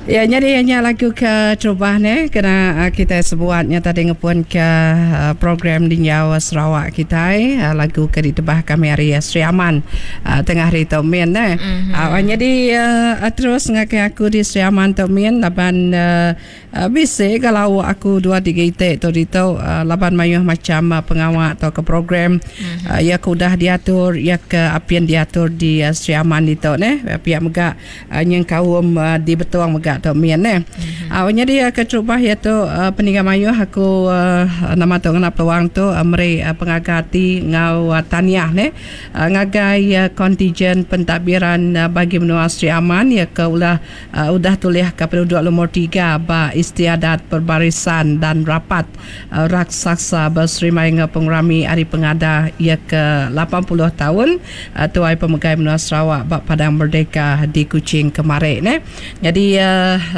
Ya nyadi nya lagu ke terubah ne kena kitai sebuat nya tadi ngepun ke program Dinjau Sarawak kitai lagu ke ditebah kami ari Sri Aman tengah hari tu min ne. Nyadi terus ngagai aku di Sri Aman tu min laban Bisi ga lauk aku dua tiga iti tu ditu laban mayuh macham pengawa tauka program iya ke udah diatur iya ke apin diatur di Sri Aman ditu neh. Pia mega nyengkaum di Betong mega tu min neh. Nyadi keterubah iya tu peninga mayuh aku nama tu ngena peluang tu meri pengaga ati enggau tahniah neh ngagai kontijen pentadbiran bagi menua Sri Aman iya ke ulah Udah tulihka penuduk lumur tiga ba Istiadat Perbarisan dan Rapat Raksasa Beserimbai enggau Pengerami Hari Pengada iya ke 80 taun Tuai Pemegai Menua Sarawak ba Padang Merdeka di Kuching kemari neh. Nyadi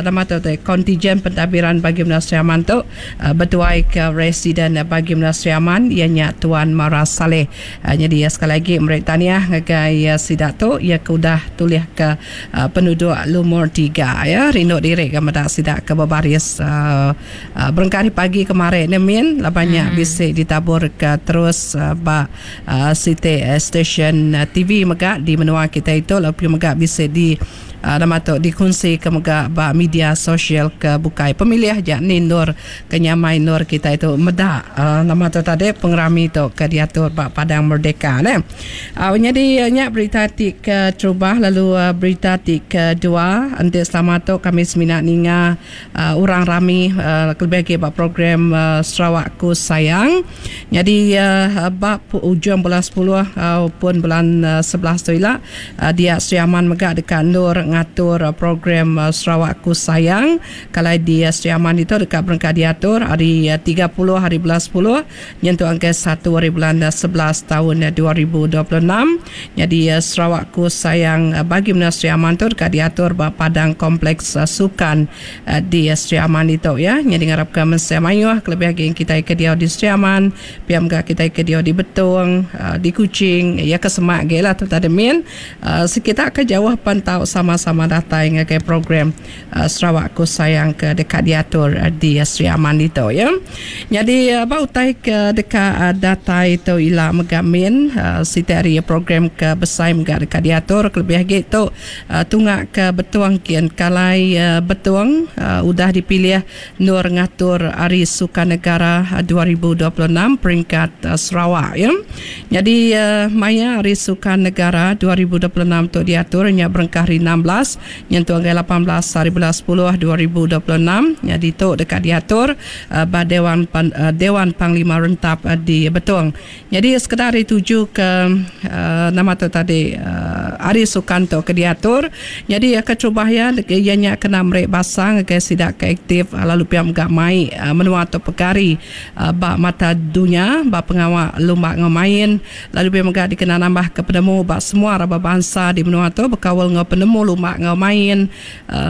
nama tu ti kontijen pentadbiran bagi menua Sri Aman tu betuaika Residen Bagi Menua Sri Aman iya nya Tuan Mara Salleh. Nyadi sekali agi meri tahniah ngagai sida tu iya ke udah tulihka Penuduk lumur tiga ya rindu diri ga meda sida ke bebaris berengkah ari pagi kemari ne min laban nya bisi ditabur ke terus ba siti stesen TV mega di menua kitai tu lalu mega bisi di nama tu dikunsi ke mega ba media sosial ke bukai pemilih ja ni endur ke nyamai endur kitai tu meda nama tu tadi pengerami tu ke diatur ba Padang Merdeka ne. Au nyadi nya berita ti keterubah lalu berita ti kedua enti selama tu kami semina ninga orang rami kelebih agi ba program Sarawak Ku Sayang. Nyadi ba ujung bulan sepuluh pun bulan 11 tu ila dia Sri Aman mega deka endur ngatur program Sarawak Ku Sayang. Kalai di Sri Aman ditu deka berengkah diatur ari 30 hari bulan sepuluh Nyentuk angka satu ari bulan 11 taun 2026, nyadi Sarawak Ku Sayang bagi menua Sri Aman tu deka diatur ba Padang Kompleks Sukan di Sri Aman ditu ya. Nyadi ngarapka mensia mayuh kelebih agi kitai ke diau di Sri Aman, pia mega kitai ke diau di Betong, di Kuching, iya ke semak agi lah tu tadi min. Sekita ke jauh pen tau sama-sama datai ngagai program Sarawak Ku Sayang ke deka diatur di Sri Aman ditu ya. Nyadi ba utai ke deka datai tu ila mega min siti ari program ke besai mega deka diatur kelebih agi tu tunga ke Betong kin kalai Betong udah dipilih endur ngatur Hari Sukan Negara 2026 peringkat Sarawak ya. Nyadi maya Hari Sukan Negara 2026 tu diatur nya berengkah hari 16 Nyentuk ngagai 18 hari bulan 10 2026 nya ditu deka diatur ba Dewan Dewan Panglima Rentap di Betong. Nyadi sekeda ari tuju ke nama tu tadi hari sukan tu ke diatur nyadi keterubah iya iya nya kena meri basa ngagai sida ke aktif lalu pia mega mai menua tu pegari ba mata dunya ba pengawa lumba enggau main. Lalu pia mega dikena nambahka penemu ba semua raban bansa di menua tu bekaul enggau penemu lumba enggau main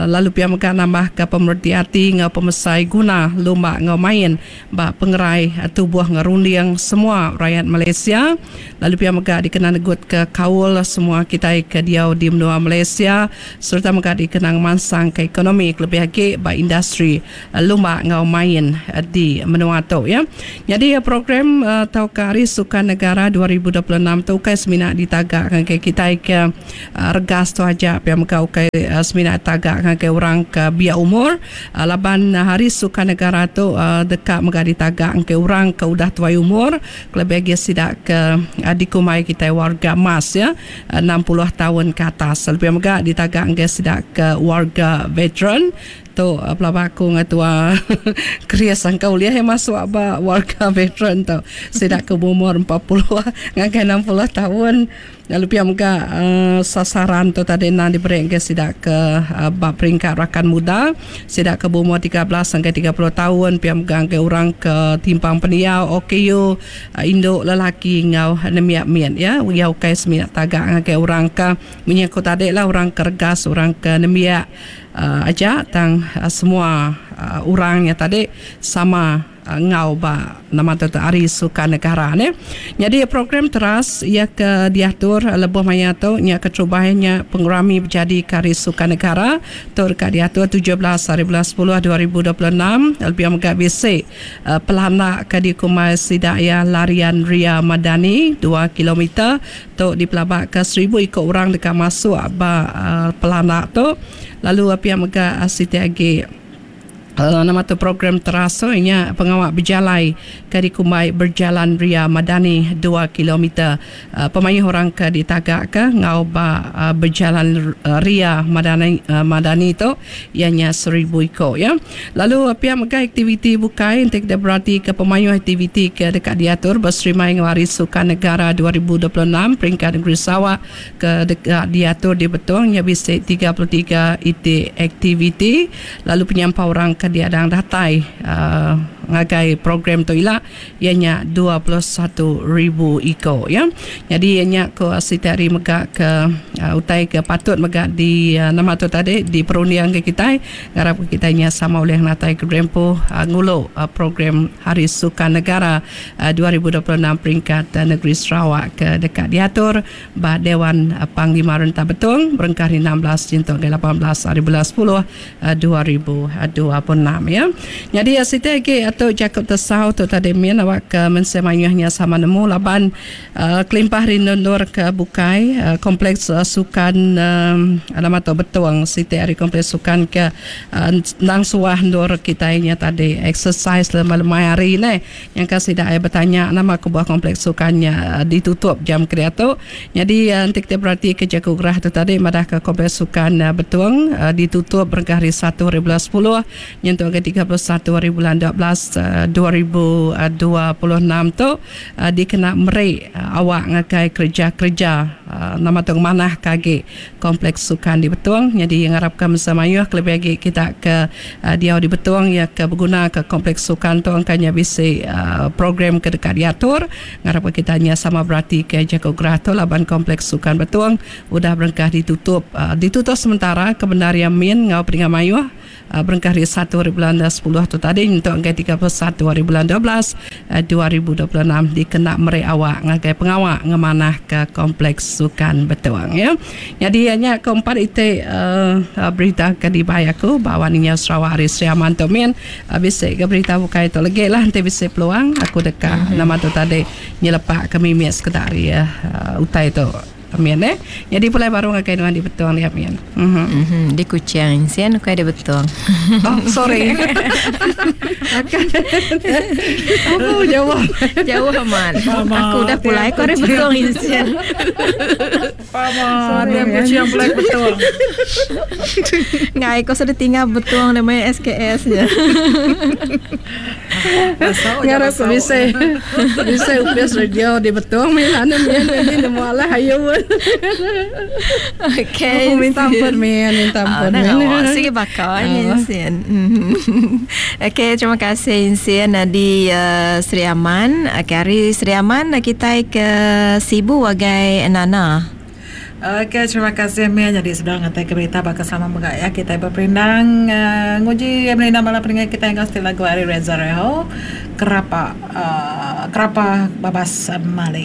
lalu pia mega nambahka pemereti ati enggau pemesai guna lumba enggau main ba pengerai tubuh enggau runding semua rayat Malaysia lalu pia mega dikena negutka kaul semua kitai ke diau di menua Malaysia sereta mega dikena ngemansangka ekonomi kelebih agi ba industri lumba enggau main di menua tu ya. Nyadi program tauka Hari Sukan Negara 2026 tu ukai semina ditaga ngagai kitai ke regas tu aja pia mega ukai semina ditaga ngagai orang ke biak umur laban Hari Sukan Negara tu deka mega ditaga ngagai orang ke udah tuai umur kelebih agi sida ke dikumbai kitai warga emas ya 60 taun ke atas. Lalu pia mega ditaga ngagai sida ke warga veteran Tu pelaba aku enggau tua Chris angka ulih iya masuk ba warga veteran tu. Sida ke beumur 40 ngagai 60 taun. Lalu pia mega uhh sasaran tu tadi endang diberi ngagai sida ke ba peringkat rakan muda, sida ke beumur 13 ngagai 30 taun, pia mega ngagai orang ke timpang pendiau OKU, indu lelaki enggau nembiak mit iya. Iya ukai semina taga ngagai orang ke munyi aku tadi lah orang ke regas, orang ke nembiak. Aja tang semua orang nya tadi sama. Enggau ba nama tu tu Hari Sukan Negara neh. Nyadi program teras iya ke diatur lebuh maya tu nya keterubah iya nya pengerami bejadika Hari Sukan Negara tu deka diatur 17 hari bulan sepuluh 2026 lalu pia mega bisi pelanda ke dikumbai sida iya Larian Ria Madani dua kilometer tu dipelabaka seribu iku orang deka masuk ba pelanda tu lalu pia mega siti agi. Nama tu program teras tu nya pengawa bejalai ke dikumbai Berjalan Ria Madani dua kilometer. Pemayuh orang ke ditagaka enggau ba Berjalan Ria Madani Madani tu iya nya seribu iku ya. Lalu pia mega aktiviti bukai enti kita beratika pemayuh aktiviti ke deka diatur beserimai enggau Hari Sukan Negara 2026 peringkat Negeri Sarawak ke deka diatur di Betong nya bisi 33 iti aktiviti. Lalu penyampau orang ke diadang datai ngagai program tu ila iya nya 21,000 iko ya. Nyadi iya nya ko siti hari mega ke utai ke patut mega di nama tu tadi diperunding ke kitai ngarap ke kitai nya sama ulih ngenatai ke diri empu ngulu program Hari Sukan Negara 2026 peringkat negeri Sarawak ke deka diatur Ba Dewan Panglima Rentap Betong berengkah hari 16 nyentuk ngagai 18 hari bulan 10 2026 ya. Nyadi siti agi tu jaku tesau tu tadi min awak ke mensia mayuh nya sama nemu laban kelimpah ari endur-endur ke bukai kompleks sukan nama tu Betong siti ari kompleks sukan ke endang suah endur kitai nya tadi exercise lemai-lemai hari neh. Nyangka sida ai betanya nama kebuah kompleks sukan nya ditutup jam ke diatu. Nyadi enti kitai beratika jaku gerah tu tadi madahka kompleks sukan Betong ditutup berengkah hari Satu hari bulan sepuluh nyentuk ngagai 31 hari bulan 12 2026 tu dikena meri awak ngagai kereja-kereja nama tu ngemanahka agi Kompleks Sukan di Betong nyadi ngarapka mensia mayuh kelebih agi kita ke diau di Betong iya ke begunaka Kompleks Sukan tu engka nya bisi program ke deka diatur. Ngarapka kita nya sama beratika jaku gerah tu laban Kompleks Sukan Betong udah berengkah ditutup ditutup sementara ke bendar iya min enggau peninga mayuh. Berengkah ari satu hari bulan sepuluh tu tadi nyentuk ngagai 31 hari bulan 12 2026 dikena meri awak ngagai pengawa ngemanahka Kompleks Sukan Betong. Ya. Nyadi iya nya ke empat iti uh, berita ke dibai aku ba Wan Inyau Sarawak ari Sri Aman tu min. Uh, bisi ke berita bukai tu legi lah enti bisi peluang aku deka mm-hmm. nama tu tadi nyelepak ke mimit sekeda ari uh, utai tu. Amin eh. Nyadi pulai baru ngagai nuan di Betong dia amin. Mhm. Mm di Kuching sian ukai di Betong. Oh sorry. Oh jauh. Jauh amat. Aku udah pulai ko ari Betong insian. Pama dia Kuching pulai ke Betong. Ngai ko sudah tinggal Betong nama SKS nya. Ngarap ke bisi bisi upis radio di Betong mih lah ne min jadi nemu alah ayu. Okey. Aku minta ampun min, minta ampun min. Oh, sigi baka Insin. Okey, terima kasih Insin di uh, Sri Aman. Okey, hari Sri Aman kitai ke Sibu agai Nana. Ok terima kasih mih nyadi sebedau ngatai ke berita baka selama mega ya kitai beperindang uhh nguji merindang bala peninga kitai enggau siti lagu ari Reza Reho kerapa uhh kerapa babas mali.